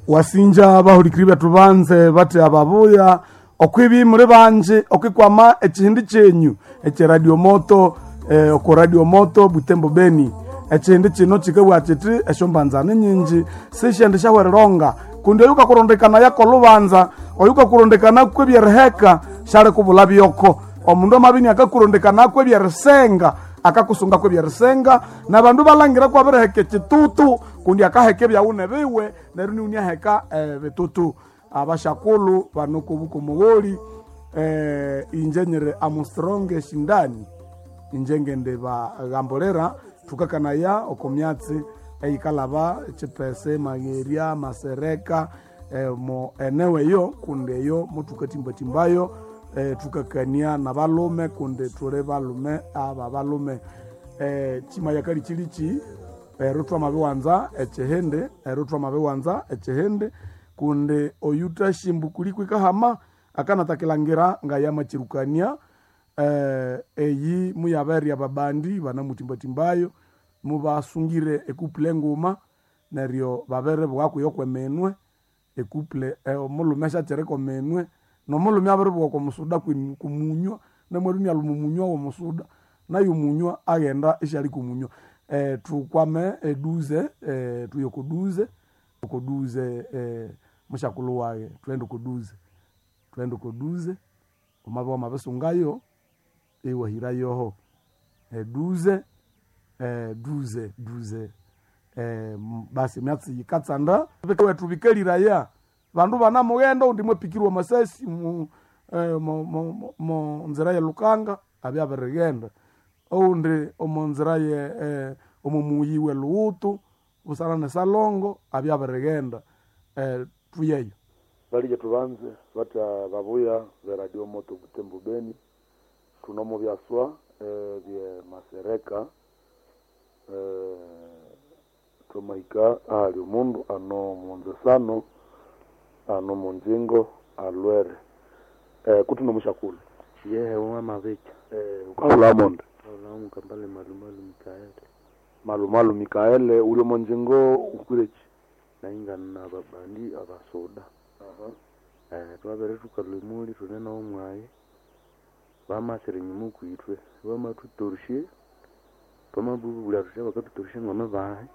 Wasinja bahulikiri bethu banze bathi ababuya okwibi muli banji okwikwama ekihindi kyenyu ekyeradio moto oko radio moto Butembo Beni. Ekihindi kino kikabugha kiti esyombanzani nyingi sisyendi syahwerilonga kundi oyu kakurondekana yakolubanza oyu kakurondekana kwebyeriheka syali kubula byoko. Omundu amabini akakurondekana kwebyerisenga akakusunga kwebyerisenga nabandu balangira kwabiriheka ekitutu kundi akaheka ebyawune biwe neryo niwuni aheka bitutu. Abashakulu bano kubuka omugholi inje nyiri Armstrong Shindani inje ngende bagambulira thukakanaya oko myatsi eyikalaba Chipese, Magherya, Masereka mo eneo eyo kundi eyo muthukatimbatimbayo thukakania nabalume kundi thuli balume aba balume chimaya kalichilichi ero twamabiwanza ekihindi ero twamabiwanza ekihindi kundi oyutashimbu kuliko ikahama akanatakilangira ngayamakyirukania eyi muyaberya babandi banamutimbatimbayo mubasungire ekuple enguma neryo babere bwakuyo kweminwe ekuple omulhume syakyirika ominwe nomulhume abiribuwa okomusuda kumunywa namwalhu inalhuma omunywa womusuda nayo omunywa aghenda isyali kumunywa. Thukwame eduze thuye okoduze okoduze musyakulhu waghe thughende okoduze thughende okoduze wamabya wamabisungayo iwahirayoho eduze duze duze basi emyatsi yikatsanda wethu bikaliraya bandu banamughenda oundi mwapikirwa amasasi omo nzira ye Lukanga abya abirighenda oundi omo nzira ye omo muyi we Lughutu busana ne Salongo abya abirighenda thuyeyo. Balije tubanze batya babuya be Radio Moto Butembo Beni thunomo byaswa bye Masereka twamahika ahali omundu ano munzesano ano munjingo alwere kuthino musyakulhu Yehe wamabicha ukahulha monde Kaulamu Kambale Malumalu Mikaeli Malumalu Mikaele uli omonjingo ukwireki naingana na babandi abasoda twabere thukalwa emuli thune nomwayi bamasira enyuma okwithwe bamathutorosye twamabubulya thuthi bakathutorosya ngamibahe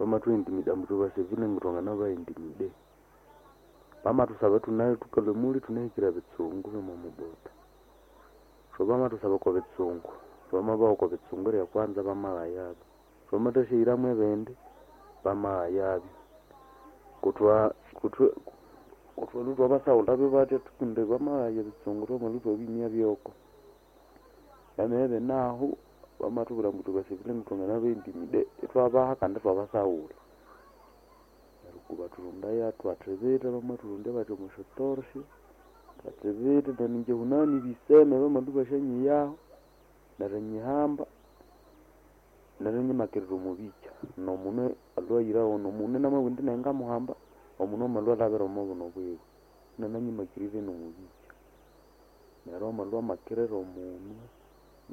bamathuintimida ambu thubasevile ngu thwanganabaintimide bamathusaba thukalwa emuli thunahikire bitsungu byomomubota so bamathusaba okwa bitsungu twamabaha okwa bitsungu eryakwanza bamaghayabyo twamathasyaghiramu ebindi bamaghayabyo kuthwa kuthwe kuthwalhu thwabasaghulhabyo batya kundi bamaghaya ebitsungu thwamalhwa ithwabimya byoko byamabya binahu bamathubwira ambu thubasevile ngu thwanganabaintimide ithwabaha kandi ithwabasaghulha neryo kubathurundaya thwathibitha bamathurundya bathi omwasyatorosyo thwathibitha naningye hunani biseme bamalhwa ibasyanyiyaho neryo nyihamba neryo nyimakirira omubikya nomunwe alhwayiraho nomunwe namabugha indi nayi ngamuhamba omunwe amalhwa alhabira omubuno bwiwe inananyimakirire nomubikya neryo amalhwa amakirira omunwe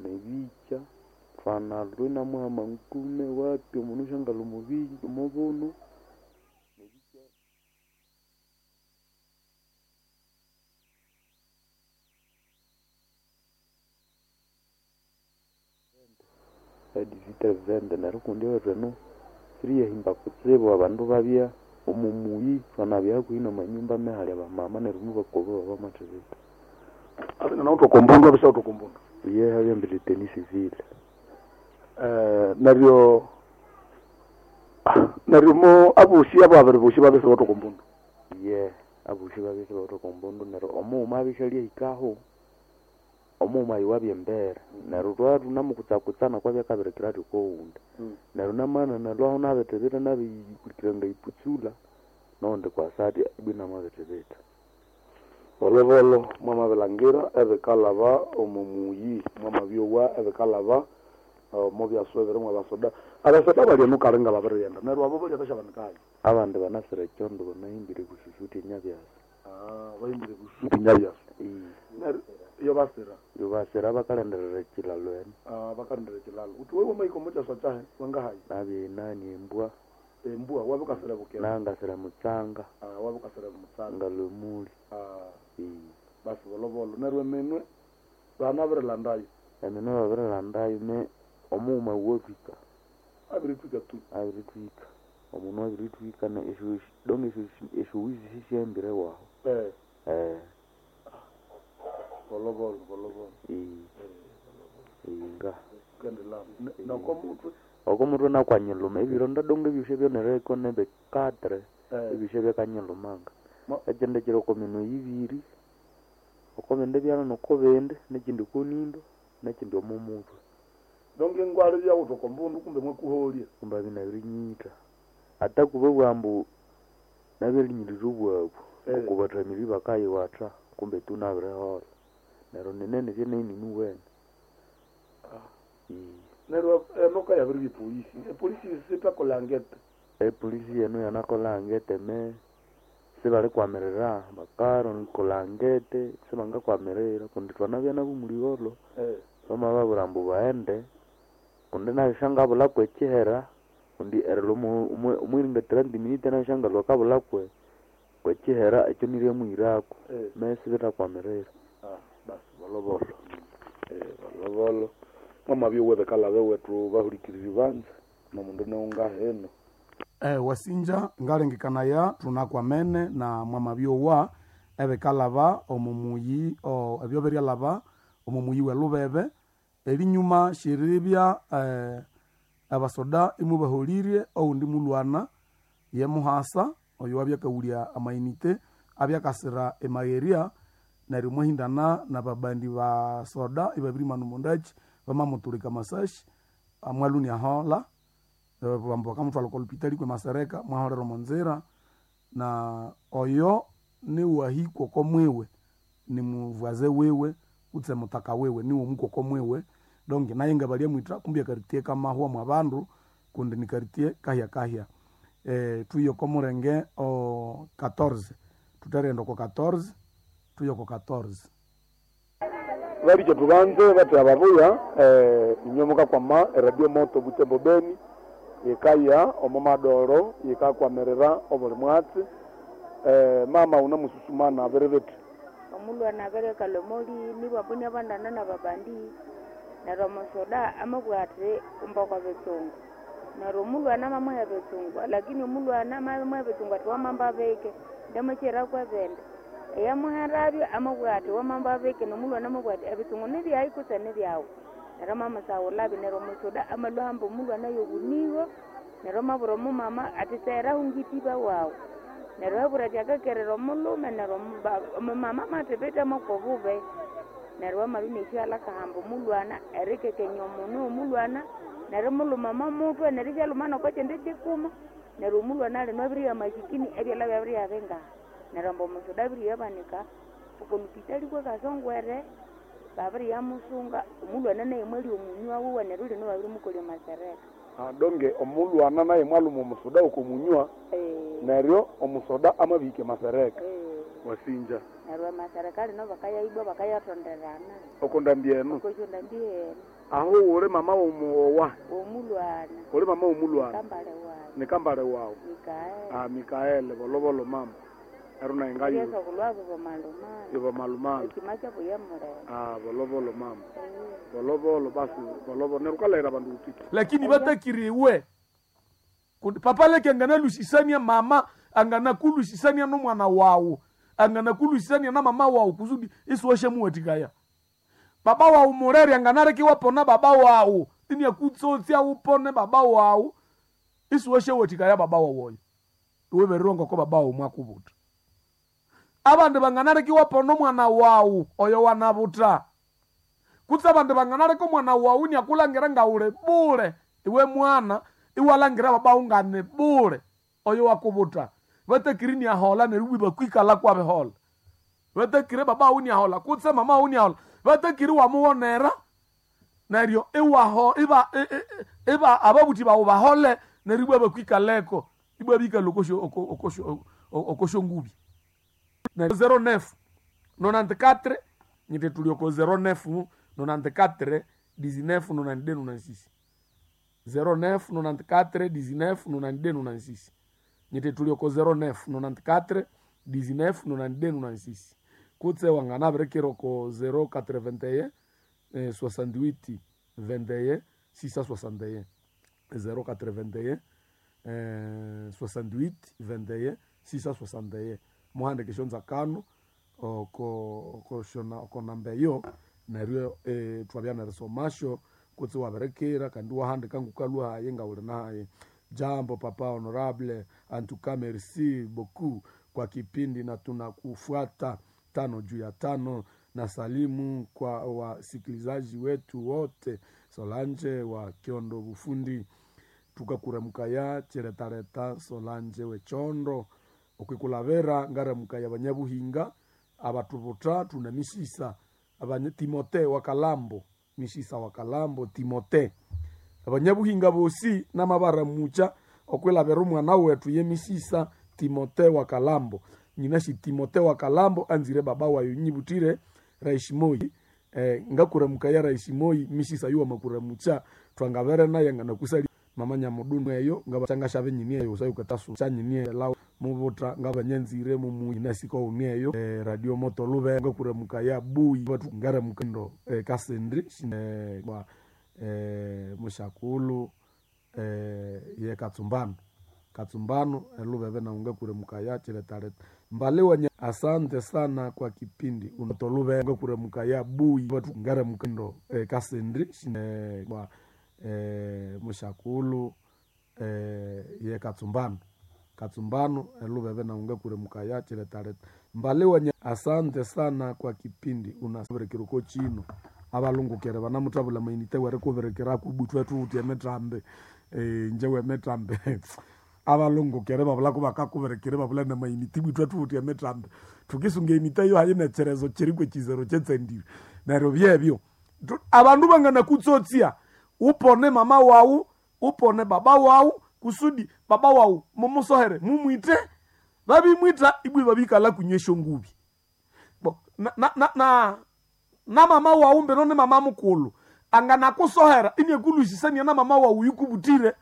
nebikya thwanalhwa inamuhama nkume wapi omunwe isyangalha omubuno nebikya. Edivita neryo kundi ewethu eno siriyahimba kutsibu abandu babya omumuyi thwanabya hakuhi namanyumba amehali abamama neryo mubakoba bamathibitha. Abina nawuthu okombundu abisawuthu okombundu Yehe abyambire tenisi vile neryo neryo mo abosi abo abiri bosi babisa bawuthu okombundu Yehe abosi babisa bawuthu okombundu neryo omughuma abisya lyahikaho omughuma ayi wabya embere neryo thwabya thunamukutsakutsana kwabya akabirikira athi okowundi neryo namana nalhwaho nabithibitha nabiyikulikira ngayiputsula nowundi kwasa athi ibwa inamabithibitha. Bolobolo mwamabilangira ebikalhaba omo muyi mwamabyowa ebikalhaba omo byaswa ebiri mwabasoda abasoda bali eno kali ngababirighenda neryo abo balya basyabanikayo Abandi banasira ekyondo banahimbire bususuti enyabyasa bahimbire bususuti nyabyasa neryo iyo basira yobasira bakalindirira ekilalo eno bakalindira ekilalo uthi wewe wamahika omo kyaswa kyahe wangahayi nabya enani embwa. Embua wabukasira bukera. Nangasira mutsanga. Ah, wabukasira mutsanga. Ngalwemuli. Ah. Basi bolobolo neryo eminwe banabirilandayo. Eminwe babirilandayo me omughuma wuwathwika. Abiritwika tu. Abiritwika. Omundu abiritwika na esyo donge esyowizi sisyahambire waho. Bolobolo bolobolo. Inga. Kendela noko mutwe. Oko mutwe nakwanyiluma ebironda donge ebyosya byonereko nebikatre. Ebyosya byakanyilumanga. Ekindi kiri oko minwe ibiri, oko bindi byana noko bindi, nekindi okonindo, nekindi omo mutwe. Donge ngwali byawutha oko mbundu kumbe mwakuholya. Kumbe abinabirinyitta. Ata kubabugha ambu nabirinyirira obwabu, oko bathamiri bakayiwatha kumbe tu nabiriholha. Neryo ninene byenayi ninuwene. Neryo enoka yabiribya epolisi. Epolisi sithakolha ngete. Epolisi yenu yanakolha ngete me sibalikwamirira bakarikolha ngete sibangakwamirira kundi thwanabya nabo muligholo. Bamababwira ambu baghende kundi nabyo syangabulhaku ekyihera kundi erilwa omwiringa 30 minutes nabyo syangalhwa akabulhaku ekyihera ekyo niryamuhiraku me sibithakwamirira. Basi bolobolo. Bolobolo. Mwamabya owebekalha bewethu bahulikiriri banza nomundu niwungahino. Wasinja ngalengekanaya thunakwamene na mwamabyowa ebikalhaba omo muyi ebyo biryalhaba omo muyi welubebe erinyuma syeribya abasoda imubaholirye owundi mulwana ye muhasa oyo wabyakawulya amainite abyakasira emagherya neryo mwahindana nababandi basoda ibabirimana omondaki bamamutulika amasashi mwalhunia aholha bambu bakamutwalha oko lupitali kwe masereka mwaholera omonzira na oyo niwahikwa oko mwiwe nimuvwaze wiwe kutse mutaka wiwe niwe omukoko mwiwe donc naye ngabalyamwitha kumbi akaritie kamahwa mwa bandu kundi nikaritie kahya kahya. Thuye oko mulenge o 14 thutherighenda oko 14 thuye oko 14. Balikye thubanze bathi ababuya inywe mukakwama eradio moto Butembo Beni yikaya omo madoro yikakwamirira obuli mwatsi. Mama unamususumana abiribithi. Omulwana abirikalha omolini bambu abandana nababandi neryo omusoda amabugha athi umba okwa bitsungu neryo omulwana amamuha ebitsungu lakini omulwana amamuha ebitsungu athi wamamba bike ndamakyiraku ebindi eyamuherabyo amabugha athi wamamba bike nomulwana amabugha athi ebitsungu nibyayi kutse nibyawu neryo amamusaghulhabyo neryo omusoda amalhwa ahamba omulwana yobunigo neryo amabwira omumama athi segherahu ngitiba wawu neryo ababwira athi akakerera omulhume neryo omumama amathibitha mwokobubi neryo amalhwa inasyaghulha akahamba omulwana erikekenya omunu womulwana neryo mulhuma omomutwe neryo isyalhuma nokokyindi kyikuma neryo omulwana alino abiriya amasikini ebyalha byabiriya bingaha neryo ambu omusoda abiriyabanika okolupitali kwekasongwere babiriyamusunga omulwana naye mwalya omunywa wuwe neryo lino babirimukolya masereka. Donge omulwana naye mwalhuma omusoda oko munywa neryo omusoda amabihika masereka. Wasinja. Neryo amasereka lino bakayaibwa bakayathonderana. Oko ndambi eno. Okosyo ndambi eno. Aho uli mama womuowa. Omulwana. Uli mama womulwana. Kambale wawu. Nikambale wawu. Mikaeli. Mikaeli bolobolo mama. Eryo naye ngayo. Yesu kulwabo bomalumala. Ibo malumala. Ekima kyabo yamulema. Bolobolo mama. Bolobolo basi bolobolo neryo ukalahira abandu utiki. Lakini batakiriwe kundi papa leke anganalusisania mama anganakulusisania nomwana wawu anganakulusisania na mama wawu kusudi isiwashamuwatikaya baba wawu mureri anganarekiwa pona baba wawu iniakutsotsia upone baba wawu isiwashawatikaya baba wawu oyo iweberirwa ngoko baba wawu mwakubuta abandu banganarekiwa pona omwana wawu oyo wanabuta kutse abandu banganareka omwana wawu iniakulangira ngauli bule iwe mwana iwalangira baba ngane bule oyo wakubuta vatakiri niahola neryo ibwi bakwikala kwabihola vatakiri baba uniahola kutse mama uniahola vatakiri wamuwonera neryo iwaho iba iba ababuthi bawu bahole neryo ibwa bakwikaleko ibwa bikala okosho okosho okosho ngubi neryo 09 94 nyite tuli oko 09 94 19 92 96. 09 94 19 92 96. Nyite tulioko 09 94 19 92 96. Kutse wanganabirikira ko 081 68 21 661. 081 68 21 661. Muhandike shonzakano oko namba eyo neryo twabya nerisomasyo kutse wabirikira kandi wahandika ngukalwa hayi ngawuli nahayi. Jambo papa honorable, antuka merci beaucoup kwa kipindi na tunakufuata 5 juu ya 5 na salimu kwa wasikilizaji wetu wote. Solange wa Kiondo Bufundi tukakuramukaya chiretareta Solange wechondo okwikulavera ngaramukaya banyabuhinga abatubuta tuna misisa abanye Timote wa Kalambo misisa wa Kalambo Timote abanyabuhinga bosi namabaramucha okwilavera omwana wetu ye misisa Timote wa Kalambo nyinashi Timote wa Kalambo anzire baba wayo nyibutire Raishimoi ngakuramukaya Raishimoi misisa yuwa makuramucha twangavere naye nganakusali mama nyamudunu eyo ngabachangasha nyini eyo usayukatasu chanyini lawo mubuta ngabanyenzire mumu inasiko uni eyo radio moto lube ngakuramukaya bui batu ngaramuka ndo kasendri kwa mushakulu ye katsumbano katsumbano elubebe na ngakuramukaya chiretareta mbaliwa asante sana kwa kipindi unatolube ngakuramukaya bui batu ngaramuka ndo kasendri kwa mushakulu ye katsumbano katsumbano elubebe na ngakuramukaya chiretareta mbaliwa asante sana kwa kipindi unabirekera chino abalungukere banamutabula mainite were kubirekera kubutwa tuuti emitrambe nje wemitrambe abalungukere babula kubakakubirekere babula na mainite butwa tuuti emitrambe tukisunga emita yo hayi necherezo chirikwe chizero chetsendire neryo byebyo abandu bangana kutsotsia upone mama wawu upone baba wawu kusudi baba wawu mumusohere mumwite babimwita ibwi babikala kunywesha ngubi bo na, na, na, na, na mama wawu mbeno ni mama mukulu anganakusohera inyekulwisisania na mama wawu yukubutire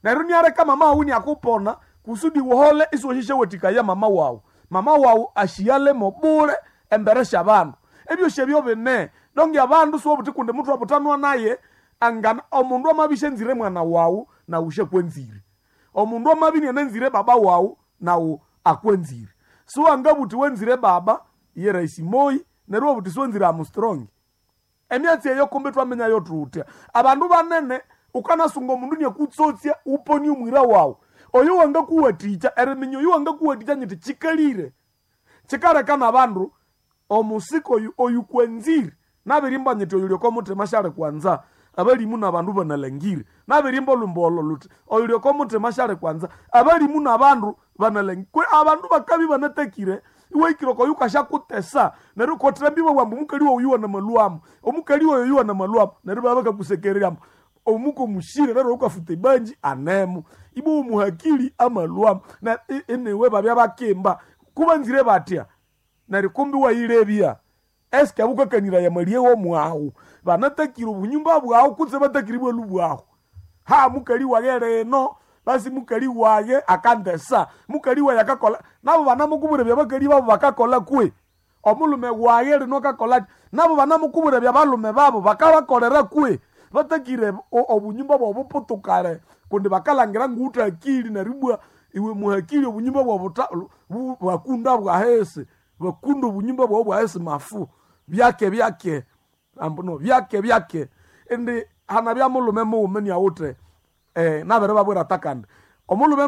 neryo niareka mama wawu niakupona kusudi wuhole isiwashishe wetikaya mama wawu mama wawu ashiyalemo bule embere syabandu ebyo syebyo bine donge abandu siwobuti kundi muthu abutanwa naye angana omundu amabisha enzire mwana wawu nawu syakwenzire omundu amabi nianenzire baba wawu nawu akwenzire siwangabuti wenzire baba ye Raisi Moi neryo wabuti siwenzire Armstrong emyatsi eyo kumbi twamenyayo tutya abandu banene ukanasunga omundu niakutsotsya uponie omwira wawu oyo wangakuwatikya eriminya oyo wangakuwatikya nyiti chikalire chikaleka nabandu omusika oyu oyukwenzire nabirimba nyiti oyu lyoko muthima syali kwanza abalimu nabandu banalangire nabirimba olwimbo olo luthi oyu lyoko muthima syali kwanza abalimu nabandu banalangire kwe abandu bakabi banatakire iwahikire okoyu kashyakutesa neryo kothembi bawamba omukali woyu yuwa namalwamu omukali woyo yuwa namalwamu neryo baba bakakusekereryamu omuko mushire neryo ukafuta ebanji anemu ibo omuhakili amalwamu na enewe babya bakimba kubanzire batya neryo kumbi wayilebya eske abukakanira yamalie womwawu banatakire obunyumba bwawu kutse batakire bwelu bwawu ha mukali wage leno basi mukali wage akandesa mukali waye akakola nabo banamukubura byabakali babo bakakola kwe omulume wage lino akakola nabo banamukubura byabalume babo bakabakolera kwe batakire obunyumba bwabo buputukale kundi bakalangira nguutakili neribwa iwe muhakili obunyumba bwabo bwakunda bwahese bakunda obunyumba bwabo bwahese mafu byake byake ambuno byake byake indi hana bya mulume muwume niawuthe nabere babwira takandi omulume.